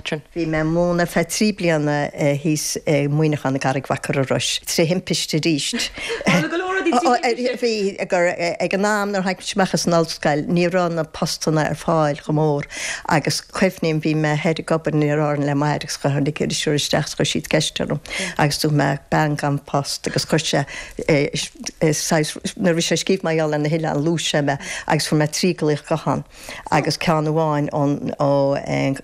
Catherine? Bhí mé ag múineadh ar feadh 3 bliana thíos i Muineachán i gCarraig Mhachaire Rois, tré thimpiste arís. Tharla go leor rudaí trí thimpiste! Bhí, gur ag an am nuair a tháinig mise amach as an ollscoil ní raibh na postanna ar fáil chomh mór agus cuimhním bhí mé thoir ag obair in Árainn le m'athair agus tháinig iriseoir isteach agus chuir siad ceist orm agus dúirt mé bean gan post agus chuir sé saghas nuair a bhí sé ag scríobh mar gheall ar na hoileáin luaigh sé mé agus fuair mé 3 glaoch guthán. agus ceann amháin ón ó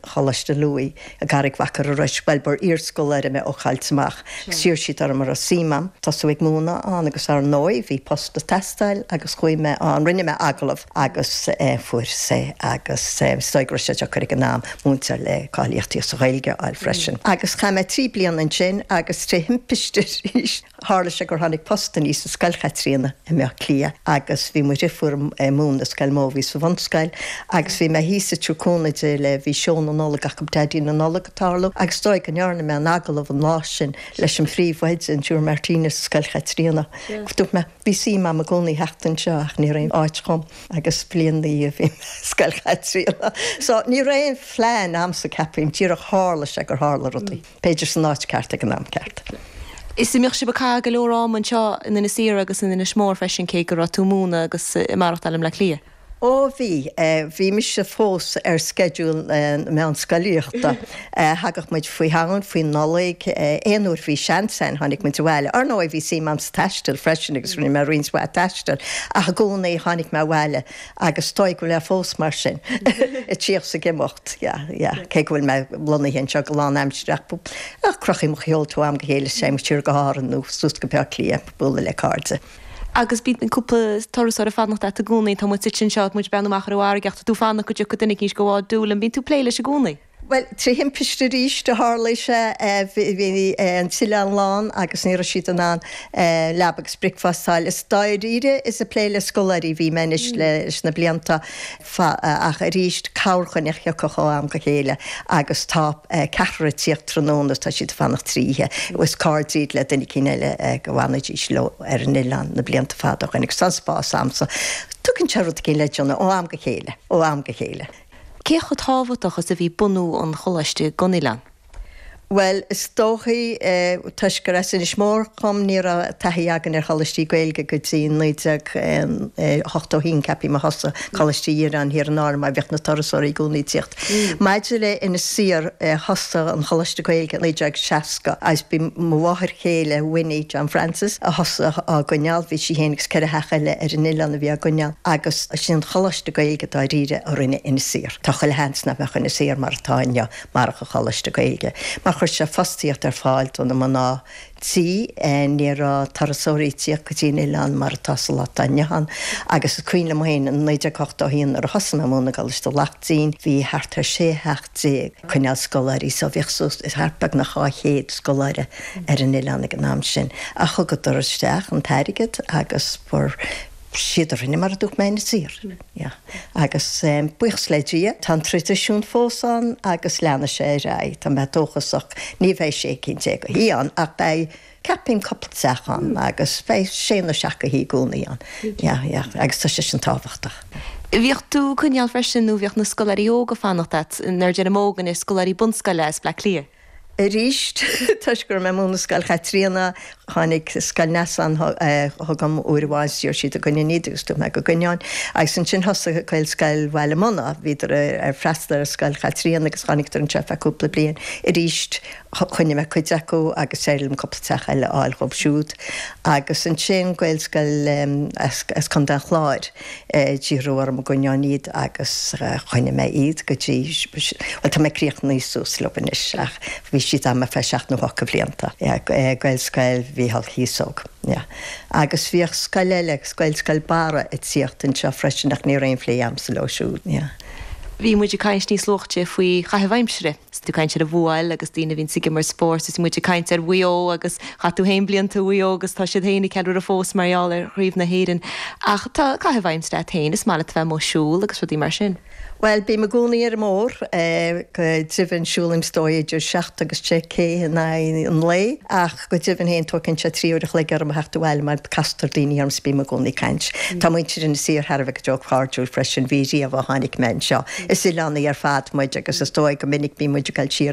Choláiste Lughaidh i gCarraig Mhachaire Rois, bhuel ba iarscoláire mé ó Choillte Amach, agus d'iarr siad orm an raibh suim a'm tosú ag múineadh ann agus ar ndóigh bhí post ag teastáil agus chuaigh mé ann, rinne mé agallamh agus fuaireas é agus is dóigh go raibh sé deacair ag an am múinteoir le cáilíochtaí sa Ghaeilge a fháil freisin. Agus chaith mé 3 bliana ansin agus tré thimpiste arís, Tharla sé gur tháinig post aníos i Scoil Chaitríona i mBaile Átha Cliath agus bhí mo dhriofúr ag múineadh i scoil mo bhí sa bhunscoil agus bhí mé thíos i dTabhar Cúnamh Dé le bhí seó na Nollag acu Daidí na Nollag ag tarlú agus is dóigh go ndearna mé an agallamh an lá sin leis an phríomhoide an Siúr Martinez i Scoil Chaitríona. Dúirt mé bhí suim a'm i gcónaí theacht anseo ach ní raibh aon áit dhom agus bliain ina dhiaidh bhí mé i Scoil Chaitríona. So ní raibh aon phlean a'msa ceapaim, díreach tharla sé gur tharla rudaí. B'fhéidir san áit ceart ag an am ceart. Is an mbíodh sibh ag caitheamh go leor ama anseo in Inis Oírr agus in Inis Mór freisin cé go raibh tú ag múineadh agus ag maireachtáil i mBleá Cliath? Ó bhí. Bhí mise fós ar sceideal na meánscolaíochta. Thagadh muid faoi Shamhain, faoi Nollaig, aon uair bhí seans againn tháinig muid abhaile. Ar ndóigh bhí suim a'm sa taisteal freisin agus rinne mé roinnt mhaith taistil ach i gcónaí tháinig mé abhaile Agus is dóigh go bhfuil mé fós mar sin, ag tíocht 's ag imeacht, yeah, yeah, cé go bhfuil mé lonnaithe anseo go lánaimseartha ach crochaim mo sheolta ó am go chéile is téim siar go hÁrainn nó suas go Bleá Cliath ag bualadh le cairde. Agus bíonn cúpla turasóir ag fanacht a't i gcónaí, tá muid suite anseo, muid ag breathnú amach ar an bhfarraige ach tá tú ag fanacht go dtiocfaidh duine eicínt go bhád Doolin, bíonn tú ag plé leis i gcónaí? Bhuel, tré thimpiste arís a tharlaigh sé. Bhí an t-oileán lán agus ní raibh siad in ann leaba agus bricfeasta a fháil. Is dáiríre is ag plé le scoláirí a bhí mé anois leis na blianta ach arís corrdhuine a thiocfadh ó am go chéile agus tá ceathrar ag tíocht tráthnóna is tá siad ag fanacht 3 oíche. Is cairde iad le duine eicínt eile go bhfanaidís leo ar an oileán na blianta fada ó shin agus tá an spás a'msa. Tugann sé rud eicínt le déanamh ó am go chéile, ó am go chéile. Cé chomh tábhachtach is a bhí bunú an choláiste don oileán? Bhuel, is dóichí, toisc gur as Inis Mór dhom, ní raibh taithí againn ar choláistí Gaeilge go dtí 1981, ceapaim, a thosaigh Coláiste Dhireáin thiar in Árainn mar bhíodh na turasóirí i gcónaí ag tíocht. Maidir le Inis Oírr, thosaigh an Choláiste Gaeilge i 1960 agus b'í mo mháthair chéile, Winnie John Francis, a thosaigh á gcoinneáil, bhí sí féin agus 4 theach eile ar an oileán a bhí á gcoinneáil agus sin an Choláiste Gaeilge dáiríre a rinne Inis Oírr. Tá chuile sheans nach mbeadh Inis Oírr mar atá inniu marach an Choláiste Gaeilge, mar chuir sé fostaíocht ar fáil do na mná tí. Ní raibh turasóirí ag tíocht go dtí an oileán mar atá sa lá atá inniu ann agus is cuimhin liom féin in 1981 nuair a thosaigh mé ag múineadh i gColáiste Laichtín bhí thart ar 16 theach ag coinneáil scoláirí so bhíodh suas thart beagnach 200 scoláire ar an oileán ag an am sin ach thugadar isteach an t-airgead agus fuair siad a rinne mar a dúirt mé Inis Oírr. Yeah. Agus buíochas le Dia, tá an traidisiún fós ann agus leanfaidh sé ar aghaidh. Tá mé dóchasach. Ní bheidh 16 cinn de thithe ann ach beidh, ceapaim, cúpla teach ann agus beidh sé nó seacht de thithe i gcónaí ann. Yeah, yeah. Agus tá sé sin tábhachtach. Bhíodh tú ag coinneáil freisin nó bhíodh na scoláirí óga ag fanacht a't, nuair a deirim óg anois, scoláirí bunscoile as Bleá Cliath. Arís, toisc go raibh mé ag múineadh i Scoil Chaitríona, tháinig Scoil Neasáin chugam uair amháin is d'iarr siad an gcoinneoinn iad agus dúirt mé go gcoinneoinn. Agus ansin thosaigh Gaelscoil Bhaile Munna, bhíodar ag freastal ar Scoil Chaitríona agus tháinigeadar anseo ar feadh cúpla bliain. Arís, choinnigh mé cuid acu agus d'éirigh liom cúpla teach eile a fháil dhóibh siúd. Agus ansin Gaelscoil as Contae an Chláir. D'iarradh orm an gcoinneoinn iad agus choinnigh mé iad go dtí, bhuel tá mé críochnaithe suas leo anois ach bhí siad a'm ar feadh seacht nó ocht de bhlianta. Gaelscoil Mhícheál Cíosóg, yeah. Agus bhíodh scoil eile, Gaelscoil Barra ag tíocht anseo freisin ach ní raibh aon phlé a'msa leo siúd, yeah. Bhí muid ag caint níos luaithe faoi chaitheamh aimsire. Is tú ag caint ar an bhfuáil agus daoine a bhíonns ag imirt spóirt is muid ag caint ar Mhaigh Eo agus chaith tú féin blianta i Mhaigh Eo agus tá siad féin ag ceiliúradh fós mar gheall ar Chraobh na hÉireann. Ach tá caitheamh aimsire a't féin, is maith leat a bheith amuigh ag siúl agus rudaí mar sin. Bhuel, bím i gcónaí ar an mbóthar. Go deimhin siúlaim is dóigh idir 7 agus 10 K in aghaidh an lae ach go deimhin féin tógann sé 3 uair a chloig orm a theacht abhaile mar castar daoine orm 's bím i gcónaí ag caint. Tá muintir Inis Oírr thar a bheith go deo cairdiúil freisin, bhí riamh ó tháinig mé anseo. Is oileánaigh ar fad muid agus is dóigh go minic bíonn muid ag dul siar.